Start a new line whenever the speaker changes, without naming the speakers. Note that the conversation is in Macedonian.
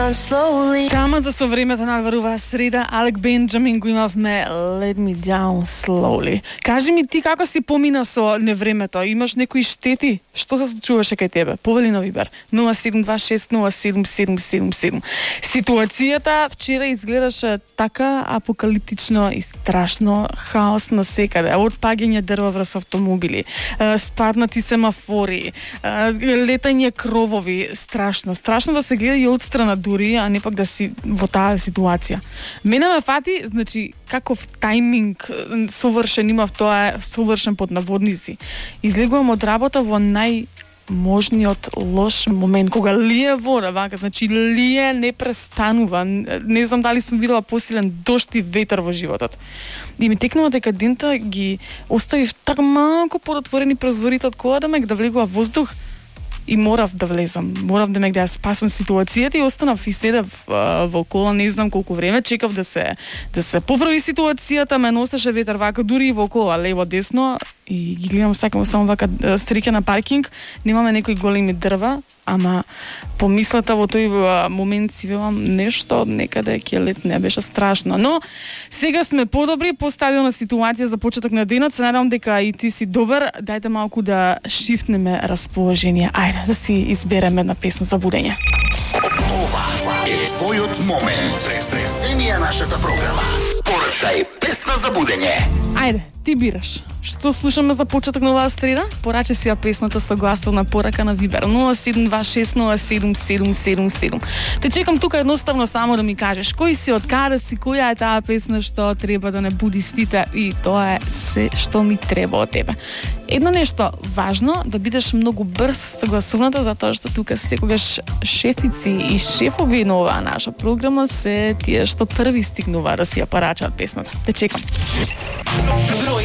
Тама за со времето надварува среда, Алек Бенджамин го имавме Let Me Down Slowly. Кажи ми ти како си помина со невремето? Имаш некои штети? Што се случуваше кај тебе? Повели на Вибер 0726077777. Ситуацијата вчера изгледаше така апокалиптично и страшно, хаос на секаде. Од паѓање дрва врз автомобили, спаднати семафори, летање кровови, страшно да се гледа и одстрана дури, а не пак да си во таа ситуација. Мене ме фати, значи, каков тајминг совршен имав, тоа е совршен под наводници. Излегувам од работа во најможниот лош момент, кога лие вода, вака, значи лие не престанува. Не знам дали сум видела посилен дожд и ветер во животот. И ми текнува дека дента ги оставив така малку подотворени прозорите од колата да влегува воздух. И морав да влезам, морав да ја спасам ситуацијата и останав и седев во кола, не знам колку време, чекав да се поправи ситуацијата, ме носеше ветер вака, дури и во кола, лево, десно, и ги гледам сакам само вака среќа на паркинг, немаме некои големи дрва, ама помислата во тој момент си велам нешто некаде ќе летне, беше страшно. Но сега сме подобри, постабилна ситуација за почеток на денот, се надевам дека и ти си добар, дајте малку да шифнеме расположение. Ајде да си избереме една песна за будење.
Ова е твојот момент. Преземија нашата програма. Порачај песна за будење.
Ајде, ти бираш. Што слушаме за почеток на оваа среда? Порачи си ја песната со гласовна порака на Вибер 0726077777. Те чекам тука едноставно само да ми кажеш кој си, од каде си, која е таа песна што треба да не буди сите, и тоа е се што ми треба од тебе. Едно нешто важно, да бидеш многу брз со гласовната, затоа што тука секогаш шефици и шефови на оваа наша програма се тие што први стигнува да си ја порачаат песната. Те чекам.